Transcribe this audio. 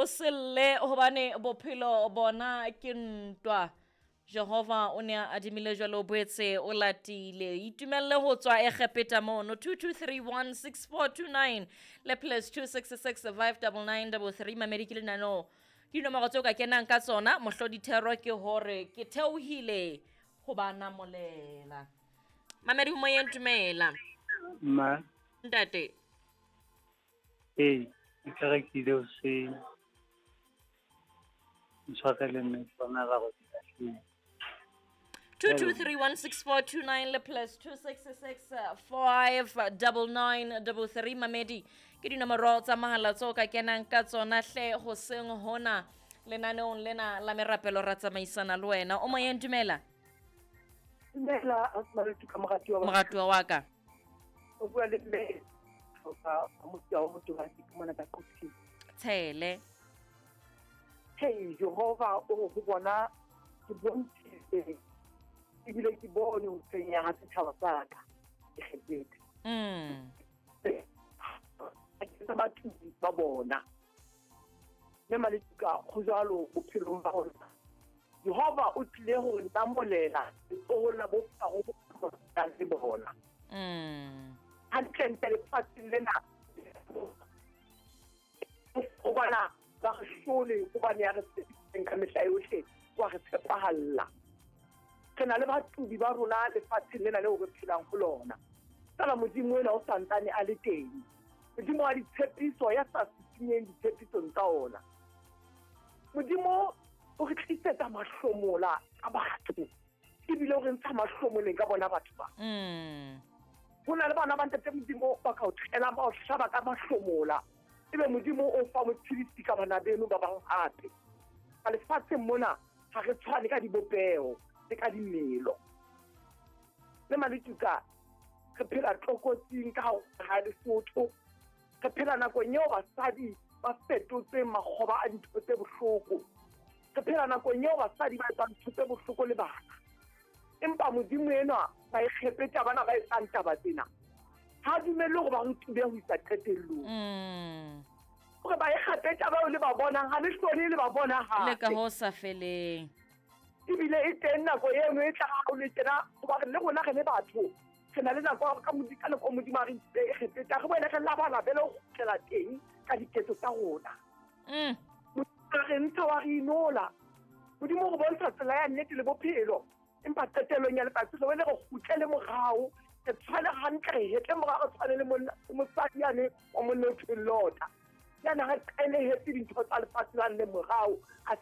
O selle hobane bophelo bona ke ntwa. Jehova o ne a adimile jwalo o boetse o latile. Itumelle ho tswa Egepeta mono 22316429 le plus 266 59933 mamedi ke lenaneo. Ke dinomoro tseo ka kenang ka tsona mohlodithero ke hore ke theohile ho ba namolela. Mamedi ho moyeng dumela. Ma. Ntate. Ee, ke kerekile hoseng. Ntshwarele mme ke bona ra go di 22316429 le plus 266 59933 mamedi ke dinomoro tsa mahala tseo ka kenang ka tsona hle hoseng hona lenaneong lena la merapelo ra tsamaisana le wena. O moyeng dumela. Dumela Asmaletu ka moratuwa wa Moratuwa wa ka. O bua le mme ka motho wa motho wa ke mona ka Qopsing. Tshele. Hey Jehova o go bona ke bontshitse ebile ke bone ho tshwenya ha setjhaba sa ka Egepeta. Ke tsa batho ba bona. Mme Maletuka go jwalo bophelong ba rona. Jehova o tlile ho re namolela letsohong la bo Faro le bona. Hantlentle lefatsheng lena o bona ba re hlole hobane ya re tshepisitseng ka mehla yohle wa re tshepahalla. Re na le batubi ba rona lefatsheng lena leo re phelang ho lona. Fela Modimo ena o santsane a le teng. Modimo wa ditshepiso ya sa sinyeng ditshepisong tsa ona. Modimo o re tlisetsa mahlomola ka batho ebile o re ntsha mahlomoleng ka bona batho ba. Ho na le bana ba ntate Modimo ba ka o tlela ba o hlaba ka mahlomola. Ebe Modimo o fa motshedisi ka bana beno ba bang hape. Ka lefatsheng mona ha re tshwane ka dibopeho le ka dimelo. Le Maletuka re phela tlokotsing ka ha Lesotho. Re phela nakong eo basadi ba fetotseng makgoba a dintho tse bohloko. Re phela nakong eo basadi ba etsang ntho tse bohloko le bana. Empa Modimo enwa ba Egepeta bana ba etsang taba tsena. Ha dumelle hore ba re tube ho isa qetellong. Hore ba Egepeta bao le ba bonang ha le hlole le ba bona hape. Le ka ho sa feleng. Ebile e teng nako eno e tla ha o le tjena hoba le rona re le batho. Re na le nako ka Modimo ka nako Modimo a re ntse Egepeta re boele re labalabele ho kgutlela teng ka diketso tsa rona. Modimo re ntsha wa re inola. Modimo re bontsha tsela ya nnete le bophelo. Empa qetellong ya letsatsi re boele re kgutlele morao. Re tshwane hantle re hetle morao re tshwane le monna mosadi yane wa monna o thweng Lota. Yana re qenehetse dintho tsa lefatshe lane le morao a